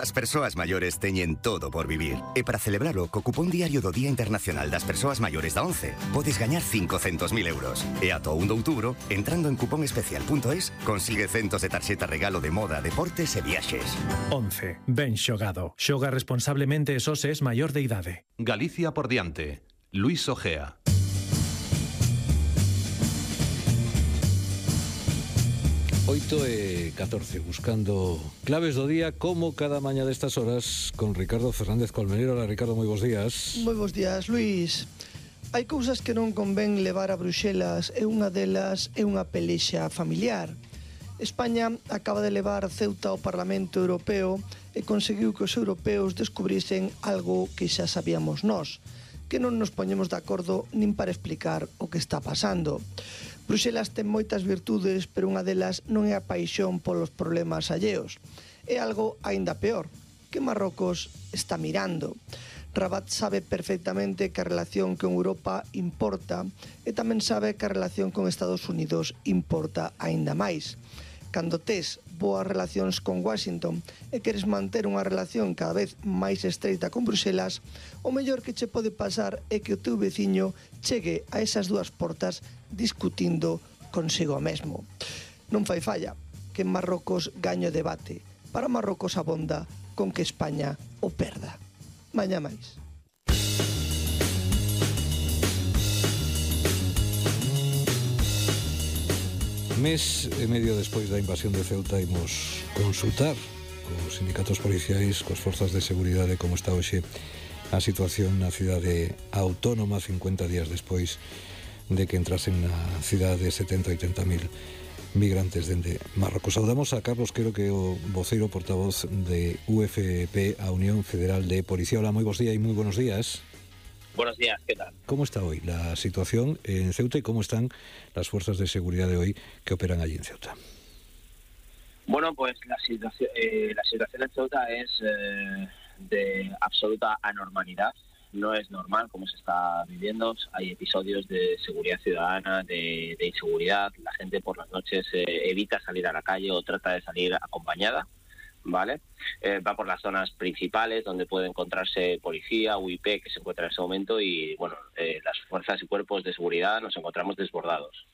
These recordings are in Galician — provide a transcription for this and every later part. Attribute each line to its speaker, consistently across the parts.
Speaker 1: As persoas maiores teñen todo por vivir. E para celebralo, co cupón diario do Día Internacional das Persoas Maiores da 11, podes gañar 500.000 euros. E ata o 1 de outubro, entrando en cuponespecial.es, consigue centos de tarxeta regalo de moda, deportes e viaxes.
Speaker 2: 11. Ben xogado. Xoga responsablemente e só se es maior de idade.
Speaker 3: Galicia por diante. Luis Ojea.
Speaker 4: 8:14, buscando claves do día como cada mañá destas horas con Ricardo Fernández Colmenero. Hola Ricardo, moi bons días.
Speaker 5: Moi bons días, Luis. Hai cousas que non convén levar a Bruxelas e unha delas é unha pelexa familiar. España acaba de levar Ceuta ao Parlamento Europeo e conseguiu que os europeos descubrisen algo que xa sabíamos nós, que non nos poñemos de acordo nin para explicar o que está pasando. Bruxelas ten moitas virtudes, pero unha delas non é a paixón polos problemas alleos. É algo aínda peor, que Marrocos está mirando. Rabat sabe perfectamente que a relación con Europa importa e tamén sabe que a relación con Estados Unidos importa aínda máis. Cando tes boas relacións con Washington e queres manter unha relación cada vez máis estreita con Bruxelas, o mellor que che pode pasar é que o teu veciño chegue a esas dúas portas discutindo consigo mesmo. Non fai falla que en Marrocos gaño debate. Para Marrocos abonda con que España o perda. Mañá máis.
Speaker 4: Mes e medio despois da invasión de Ceuta imos consultar cos sindicatos policiais, cos forzas de seguridade, como está hoxe a situación na cidade autónoma 50 días despois de que entrasen na cidade 70 ou 80.000 migrantes dende Marrocos. Saudamos a Carlos Quero, que é o voceiro portavoz de UFP, a Unión Federal de Policía. Hola, moi bons días e moi buenos días.
Speaker 6: Buenos días, ¿qué tal?
Speaker 4: ¿Cómo está hoy la situación en Ceuta y cómo están las fuerzas de seguridad de hoy que operan allí en Ceuta?
Speaker 6: Bueno, pues la situación en Ceuta es de absoluta anormalidad. No es normal como se está viviendo. Hay episodios de seguridad ciudadana, de inseguridad. La gente por las noches evita salir a la calle o trata de salir acompañada, ¿vale? Va por las zonas principales donde puede encontrarse policía, UIP, que se encuentra en ese momento, y bueno, las fuerzas y cuerpos de seguridad nos encontramos desbordados.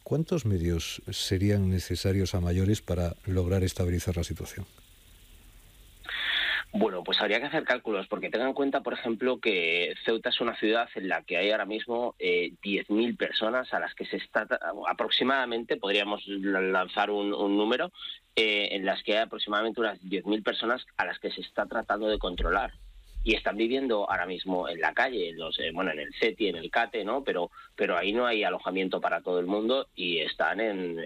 Speaker 4: ¿Cuántos medios serían necesarios a mayores para lograr estabilizar la situación?
Speaker 6: Bueno, pues habría que hacer cálculos, porque tengan en cuenta, por ejemplo, que Ceuta es una ciudad en la que hay ahora mismo 10.000 personas a las que se está, aproximadamente, podríamos lanzar un número, en las que hay aproximadamente unas 10.000 personas a las que se está tratando de controlar. Y están viviendo ahora mismo en la calle, en el CETI, en el CATE, ¿no? Pero ahí no hay alojamiento para todo el mundo y están en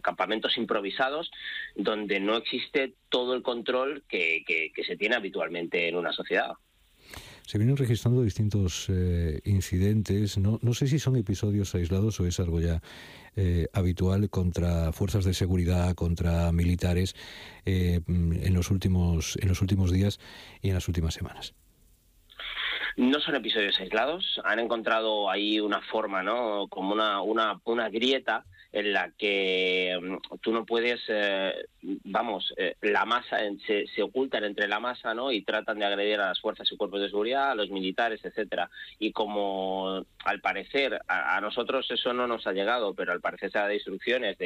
Speaker 6: campamentos improvisados donde no existe todo el control que se tiene habitualmente en una sociedad.
Speaker 4: Se vienen registrando distintos incidentes, no sé si son episodios aislados o es algo ya habitual contra fuerzas de seguridad, contra militares en los últimos días y en las últimas semanas.
Speaker 6: No son episodios aislados, han encontrado ahí una forma, ¿no? Como una grieta en la que tú no puedes, la masa, se ocultan entre la masa, ¿no? Y tratan de agredir a las fuerzas y cuerpos de seguridad, a los militares, etcétera. Y como al parecer, a nosotros eso no nos ha llegado, pero al parecer se ha dado instrucciones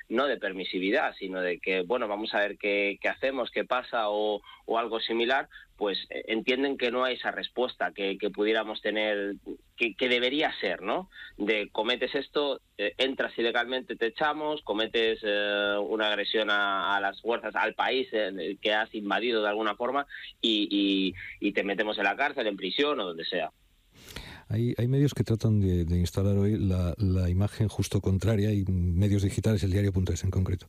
Speaker 6: no de permisividad, sino de que, bueno, vamos a ver qué hacemos, qué pasa o algo similar, pues entienden que no hay esa respuesta que pudiéramos tener, que debería ser, ¿no? De cometes esto, entras ilegalmente, te echamos, cometes una agresión a las fuerzas, al país que has invadido de alguna forma y te metemos en la cárcel, en prisión o donde sea.
Speaker 4: Hay medios que tratan de instalar hoy la imagen justo contraria, y medios digitales, el diario.es en concreto,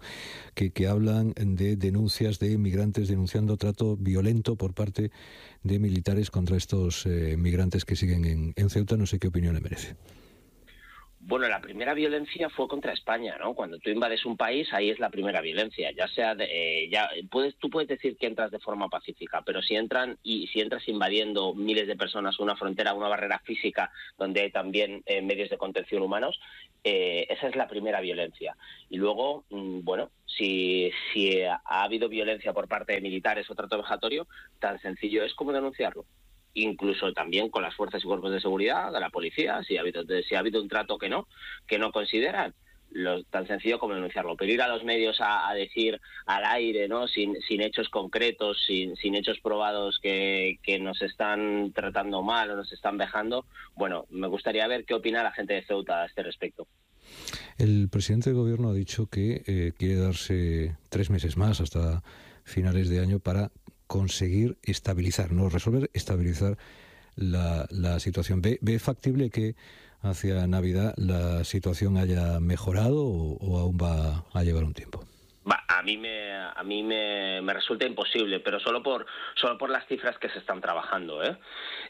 Speaker 4: que hablan de denuncias de migrantes denunciando trato violento por parte de militares contra estos migrantes que siguen en Ceuta. No sé qué opinión le merece.
Speaker 6: Bueno, la primera violencia fue contra España, ¿no? Cuando tú invades un país, ahí es la primera violencia. Ya sea, tú puedes decir que entras de forma pacífica, pero si entras invadiendo miles de personas una frontera, una barrera física, donde hay también medios de contención humanos, esa es la primera violencia. Y luego, bueno, si ha habido violencia por parte de militares o trato vejatorio, tan sencillo es como denunciarlo. Incluso también con las fuerzas y cuerpos de seguridad, de la policía, si ha habido un trato que no consideran, tan sencillo como denunciarlo. Pero ir a los medios a decir al aire, ¿no? Sin hechos concretos, sin hechos probados que nos están tratando mal o nos están vejando, bueno, me gustaría ver qué opina la gente de Ceuta a este respecto.
Speaker 4: El presidente del gobierno ha dicho que quiere darse 3 meses más hasta finales de año para conseguir estabilizar la situación. ¿Ve factible que hacia Navidad la situación haya mejorado o aún va a llevar un tiempo?
Speaker 6: A mí me resulta imposible, pero solo por las cifras que se están trabajando,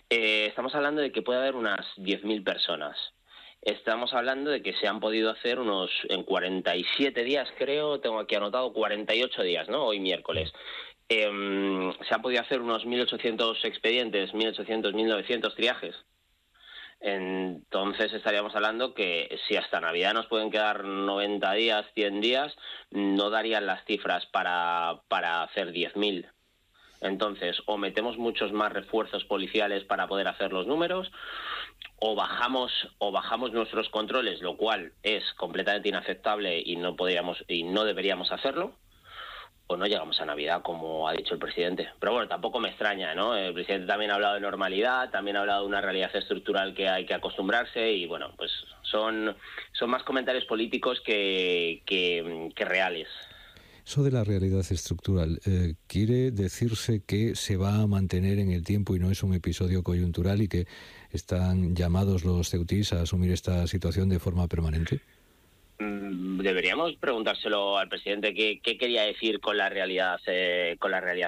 Speaker 6: estamos hablando de que puede haber unas 10.000 personas. Estamos hablando de que se han podido hacer en 47 días, creo, tengo aquí anotado 48 días, ¿no? Hoy miércoles. Se han podido hacer unos 1.800 expedientes, 1.800, 1.900 triajes. Entonces estaríamos hablando que si hasta Navidad nos pueden quedar 90 días, 100 días, no darían las cifras para hacer 10.000. Entonces, o metemos muchos más refuerzos policiales para poder hacer los números, o bajamos nuestros controles, lo cual es completamente inaceptable y no deberíamos hacerlo, o no llegamos a Navidad, como ha dicho el presidente. Pero bueno, tampoco me extraña, ¿no? El presidente también ha hablado de normalidad, también ha hablado de una realidad estructural que hay que acostumbrarse y bueno, pues son más comentarios políticos que reales.
Speaker 4: Eso de la realidad estructural, ¿quiere decirse que se va a mantener en el tiempo y no es un episodio coyuntural y que están llamados los ceutís a asumir esta situación de forma permanente?
Speaker 6: Deberíamos preguntárselo al presidente qué quería decir con la realidad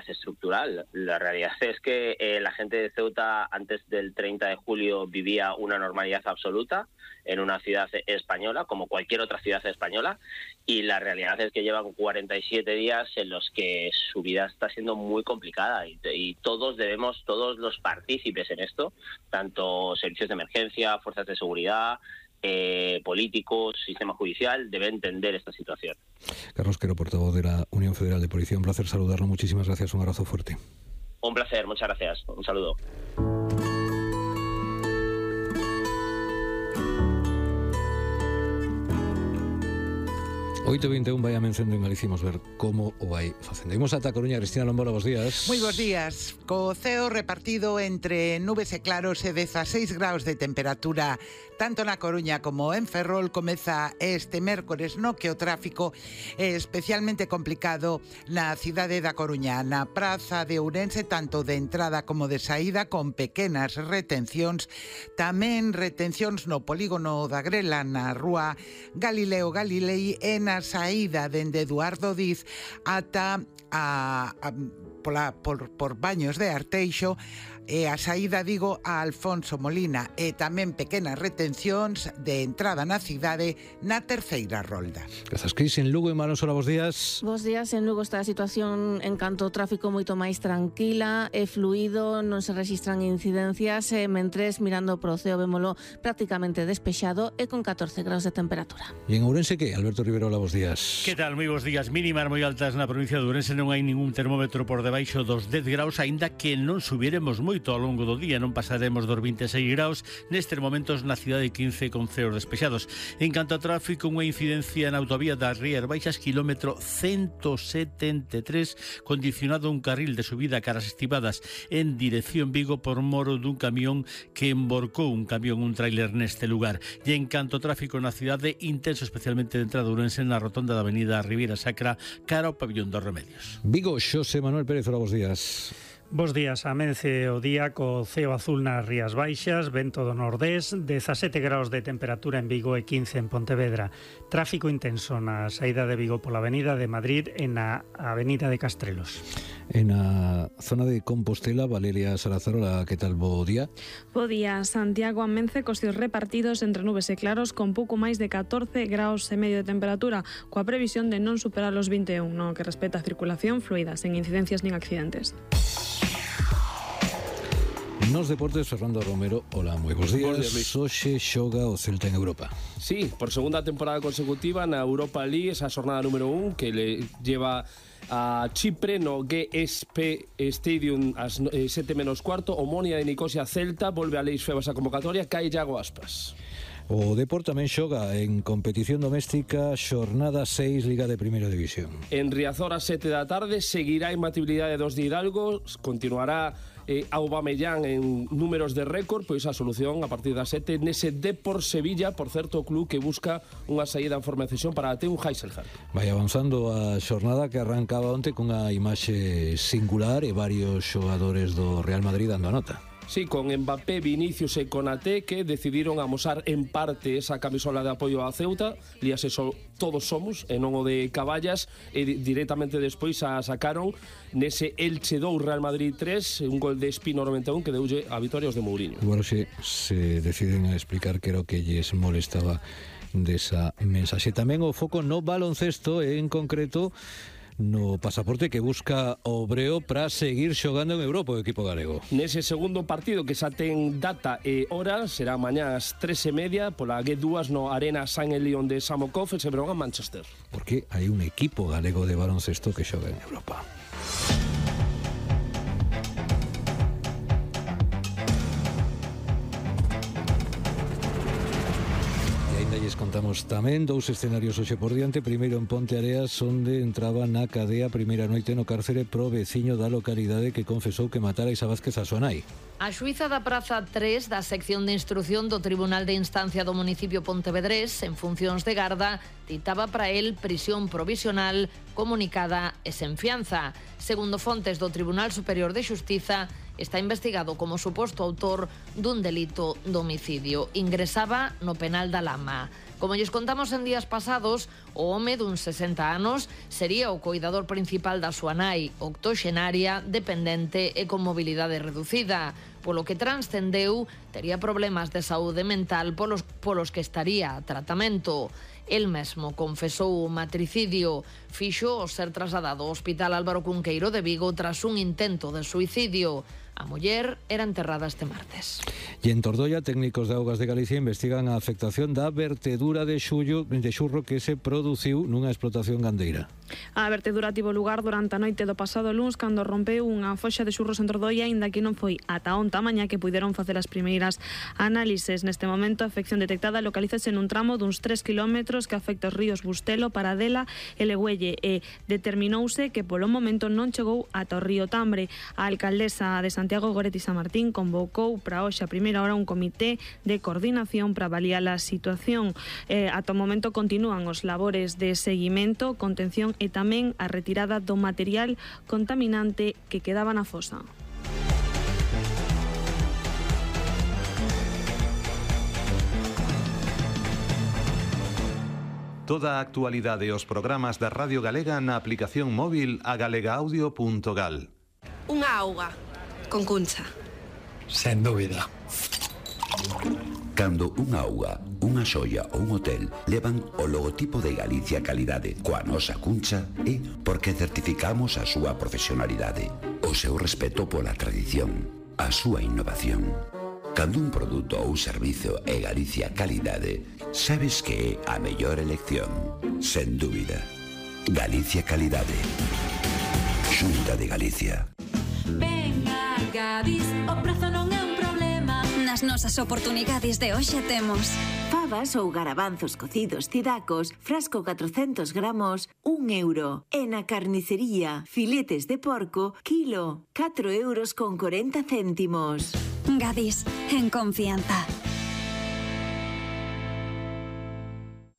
Speaker 6: estructural. La realidad es que la gente de Ceuta antes del 30 de julio vivía una normalidad absoluta en una ciudad española, como cualquier otra ciudad española, y la realidad es que llevan 47 días en los que su vida está siendo muy complicada y todos los partícipes en esto, tanto servicios de emergencia, fuerzas de seguridad, políticos, sistema judicial, debe entender esta situación.
Speaker 4: Carlos Quero, portavoz de la Unión Federal de Policía, un placer saludarlo, muchísimas gracias, un abrazo fuerte.
Speaker 6: Un placer, muchas gracias, un saludo.
Speaker 4: 8:21 vai a mención en Galicia, imos ver como o vai facendo. Imos ata Coruña. Cristina Lombora, bos días.
Speaker 7: Moi bos días. Co ceo repartido entre nubes e claros e 16 graus de temperatura tanto na Coruña como en Ferrol, comeza este mércores no que o tráfico é especialmente complicado na cidade da Coruña, na praza de Ourense, tanto de entrada como de saída, con pequenas retencións, tamén retencións no polígono da Grela, na rúa Galileo Galilei e na saída dende Eduardo Diz ata por Baños de Arteixo e a saída, digo, a Alfonso Molina, e tamén pequenas retencións de entrada na cidade na terceira rolda.
Speaker 4: Grazas, Cris. En Lugo, en Manosora, bos días.
Speaker 8: Bos días. En Lugo está a situación en canto ao tráfico moito máis tranquila e fluido, non se rexistran incidencias, mentres mirando pro ceo vémolo prácticamente despexado e con 14 graus de temperatura.
Speaker 4: E en Ourense, que? Alberto Riverola, bos días.
Speaker 9: Que tal? Moi bos días. Mínimas moi altas na provincia de Ourense, non hai ningún termómetro por debaixo dos 10 graus, aínda que non subiremos moito ao longo do día, non pasaremos dos 26 graus nestes momentos na cidade 15 con ceos despexados. En canto a tráfico, unha incidencia na autovía das Rías Baixas, kilómetro 173, condicionado un carril de subida caras estivadas en dirección Vigo por moro dun camión que emborcou un tráiler neste lugar. E en canto a tráfico na cidade, intenso especialmente de entrada Ourense na rotonda da avenida Ribeira Sacra cara ao pabillón dos Remedios.
Speaker 4: Vigo, Xosé Manuel Pérez, hola, bos días.
Speaker 10: Bos días, amence o día co ceo azul nas Rías Baixas, vento do nordés, 17 graus de temperatura en Vigo e 15 en Pontevedra. Tráfico intenso na saída de Vigo pola avenida de Madrid e na avenida de Castrelos.
Speaker 4: En a zona de Compostela, Valeria Sarazarola, que tal, bo día?
Speaker 11: Bo día, Santiago amence cos cios repartidos entre nubes e claros con pouco máis de 14 graus e medio de temperatura, coa previsión de non superar os 21, no que respecta a circulación fluida, sen incidencias nin accidentes.
Speaker 4: Nos deportes, Fernando Romero, hola, moi bons días. Hoxe xoga o Celta en Europa.
Speaker 12: Sí, por segunda temporada consecutiva na Europa League, esa jornada número 1 que le lleva a Chipre no GSP Stadium ás 7:15, Omonia de Nicosia Celta, volve a Leis Febas a convocatoria, cae Iago Aspas.
Speaker 4: O Depor tamén xoga en competición doméstica, xornada 6, Liga de Primeira División.
Speaker 12: En Riazor a 7 da tarde seguirá a imbatibilidade dos de Hidalgo, continuará Aubameyang en números de récord, pois a solución a partir das 7 nese Depor Sevilla, por certo o club que busca unha saída en forma de cesión para Teo Heiselhardt.
Speaker 4: Vai avanzando a xornada que arrancaba onte cunha imaxe singular e varios xogadores do Real Madrid dando a nota.
Speaker 12: Sí, con Mbappé, Vinicius e Konaté que decidiron amosar en parte esa camisola de apoio a Ceuta, líase todos somos, e non o de Caballas, e directamente despois a sacaron nese Elche 2, Real Madrid 3, un gol de Espino 91 que deulle a vitoria aos de Mourinho.
Speaker 4: Bueno, se deciden a explicar que era o que lles molestaba desa mensaxe. Tamén o foco no baloncesto, en concreto no pasaporte que busca o Breo para seguir xogando en Europa o equipo galego.
Speaker 12: Nese segundo partido que xa ten data e hora, será mañá ás 3:30 pola G2 no Arena San Elion de Samokov e se verán a Manchester.
Speaker 4: Porque hai un equipo galego de baloncesto que xoga en Europa. Contamos tamén dous escenarios hoxe por diante. Primeiro en Ponte Areas, onde entraba na cadea primeira noite no cárcere pro veciño da localidade que confesou que matara Isa Vázquez a súa nai.
Speaker 13: A xuíza da Praza 3 da sección de instrución do Tribunal de Instancia do municipio pontevedrés, en funcións de garda, ditaba para el prisión provisional comunicada e sen fianza. Segundo fontes do Tribunal Superior de Xustiza, está investigado como suposto autor dun delito de homicidio. Ingresaba no penal da Lama. Como lles contamos en días pasados, o home dun 60 anos sería o coidador principal da súa nai, octoxenaria, dependente e con mobilidade reducida. Polo que transcendeu, tería problemas de saúde mental polos que estaría a tratamento. El mesmo confesou o matricidio, fixo o ser trasladado ao Hospital Álvaro Cunqueiro de Vigo tras un intento de suicidio. A muller era enterrada este martes.
Speaker 4: E en Tordoia, técnicos de Augas de Galicia investigan a afectación da vertedura de xurro que se produciu nunha explotación gandeira.
Speaker 11: A vertedura tivo lugar durante a noite do pasado luns cando rompeu unha foxa de xurros en Tordoia, aínda que non foi ata onta mañá que puideron facer as primeiras análises. Neste momento, a afección detectada localízase nun tramo duns 3 kilómetros que afecta os ríos Bustelo, Paradela e Legüelle, e determinouse que polo momento non chegou ata o río Tambre. A alcaldesa de Santiago, Goretti San Martín, convocou para hoxe a primeira hora un comité de coordinación para avaliar a situación. Ata o momento continúan os labores de seguimento, contención e tamén a retirada do material contaminante que quedaba na fosa.
Speaker 3: Toda a actualidade e os programas da Radio Galega na aplicación móvil a galegaaudio.gal.
Speaker 14: Unha auga con cuncha.
Speaker 15: Sen dúbida.
Speaker 16: Cando unha auga, unha xoia ou un hotel levan o logotipo de Galicia Calidade coa nosa cuncha é porque certificamos a súa profesionalidade, o seu respeto pola tradición, a súa innovación. Cando un produto ou servizo é Galicia Calidade, sabes que é a mellor elección, sen dúbida. Galicia Calidade. Xunta de Galicia.
Speaker 17: Venga, Gadis, o prezo non é un problema. Nas nosas oportunidades de hoxe temos
Speaker 18: fabas ou garabanzos cocidos cidacos, frasco 400 gramos, 1 euro. E na carnicería, filetes de porco, kilo, 4,40 €.
Speaker 17: Gadis, en confianza.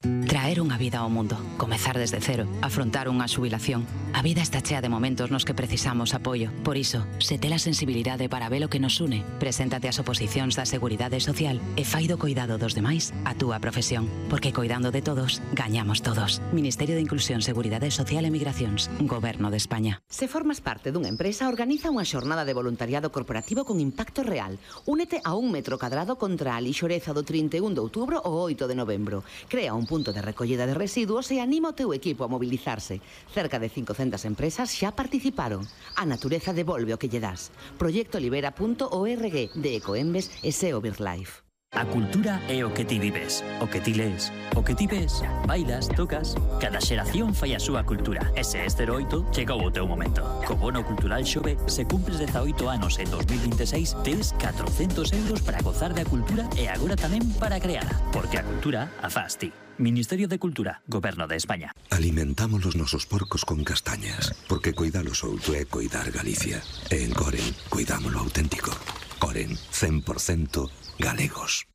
Speaker 19: Traer unha vida ao mundo, comezar desde cero, afrontar unha xubilación. A vida está chea de momentos nos que precisamos apoio. Por iso, se tes a sensibilidade para ver o que nos une, preséntate ás oposicións da Seguridade Social e fai do coidado dos demais a túa profesión. Porque coidando de todos, gañamos todos. Ministerio de Inclusión, Seguridade Social e Migracións, Goberno de España.
Speaker 20: Se formas parte dunha empresa, organiza unha xornada de voluntariado corporativo con impacto real. Únete a 1 metro cadrado contra a lixoreza do 31 de outubro ao 8 de novembro. Crea un punto de recollida de residuos e anima o teu equipo a mobilizarse. Cerca de 500 empresas xa participaron. A natureza devolve o que lle das. Proyectolibera.org de Ecoembes e SEO BirdLife.
Speaker 21: A cultura é o que ti vives, o que ti lees, o que ti ves, bailas, tocas. Cada xeración fai a súa cultura. E se este 08, chegou o teu momento. Co bono cultural Xove, se cumpres 18 anos en 2026, tes 400 euros para gozar da cultura e agora tamén para creala. Porque a cultura a faz ti. Ministerio de Cultura, Goberno de España.
Speaker 22: Alimentamos os nosos porcos con castañas, porque coidalos outro é coidar Galicia. E en Coren, cuidámolo auténtico. Coren, 100% galegos.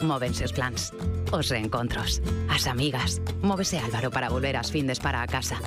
Speaker 19: Móvense os plans, os reencontros, as amigas. Móvese Álvaro para volver ás findes para a casa.